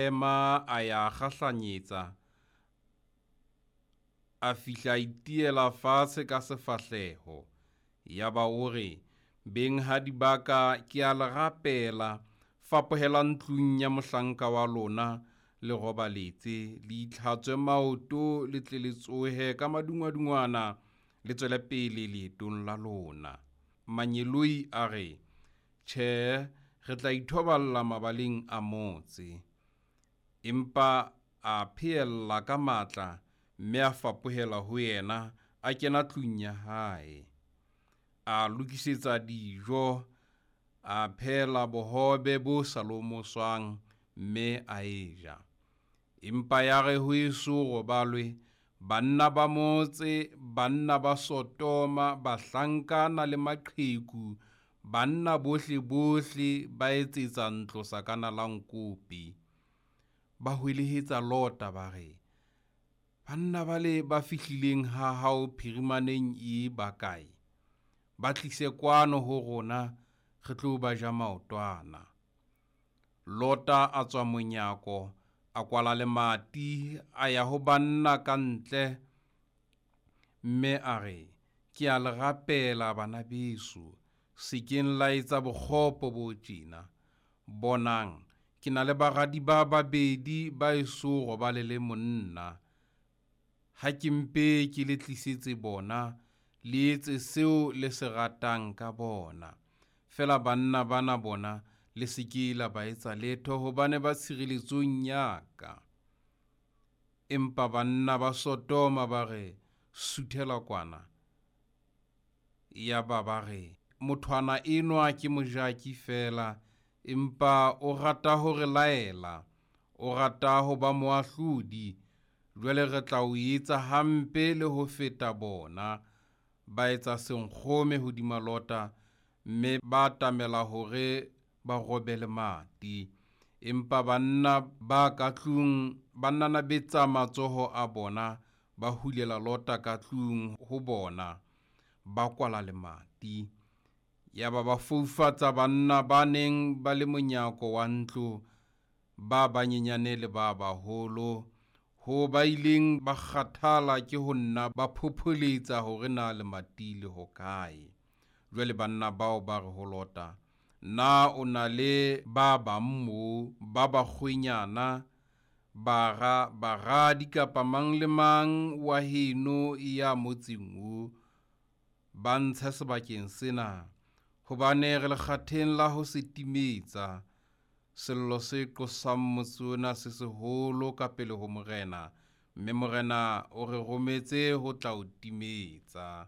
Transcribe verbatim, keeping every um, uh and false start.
Ema a ya kgahlanyetsa, a fihla a itiela fatshe ka sefahleho. Yaba o re, Benghadi ba ka, ke a le rapela, fapohelang tlung ya mohlanka wa lona, le robaletse, le itlhatswe maoto, le tle le tsohe ka madungwadungwana, le tswele pele leetong la lona. Mangeloi a re, Tjhe, re tla ithoballa mabaleng a motse. Empa a pheella ka matla, mme a fapohela ho yena, a kena tlung ya hae. A lokisetsa dijo, a phehela bohobe bo sa lomoswang, mme a e ja. Empa yare ho eso robalwe, banna ba motse, banna ba Sotoma, bahlankana le maqheku, banna bohle bohle ba etsetsa ntlo sakana la nkope. Ba hwelehetsa Lota ba re, Banna bale ba fihlileng ha hao phirimaneng ee ba kae? Ba tlise kwano ho rona, re tlo ba ja maotwana. Lota a tswa monyako, a kwala lemati, a ya ho banna ka ntle, mme a re, Ke a le rapela bana beso, se keng la etsa bokgopo bo tjena. Bonang, ke na le baradi ba babedi ba eso robale le monna. Ha ke mpe ke le tlisetse bona, le etse seo le se ratang ka bona. Feela banna bana bona le se ke la ba etsa letho, hobane ba tshireletsong ya ka. Empa banna ba Sotoma ba re, Suthela kwana. Yaba ba re, Mothwana enwa ke mojaki feela, empa o rata ho re laela, o rata ho ba moahlodi. Jwale re tla o etsa hampe le ho feta bona. Ba etsa senkgome hodima Lota, mme ba atamela hore ba robe lemati. Empa banna ba ka tlung ba nanabetsa matsoho a bona, ba hulela Lota ka tlung ho bona, ba kwala lemati. Yaba ba foufatsa banna ba neng ba le monyako wa ntlo, ba banyenyane le ba baholo, ho ba ileng ba kgathala ke ho nna ba phopholetsa hore na lemati le hokae. Jwale banna bao ba re ho Lota, Na o na le ba bang moo, ba bakgwenyana, bara, baradi kapa mang le mang wa heno ya motseng o? Ba ntshe sebakeng sena, hobane re lekgatheng la ho se timetsa. Sello se qosang motse ona se seholo ka pele ho Morena, mme Morena o re rometse ho tla o timetsa.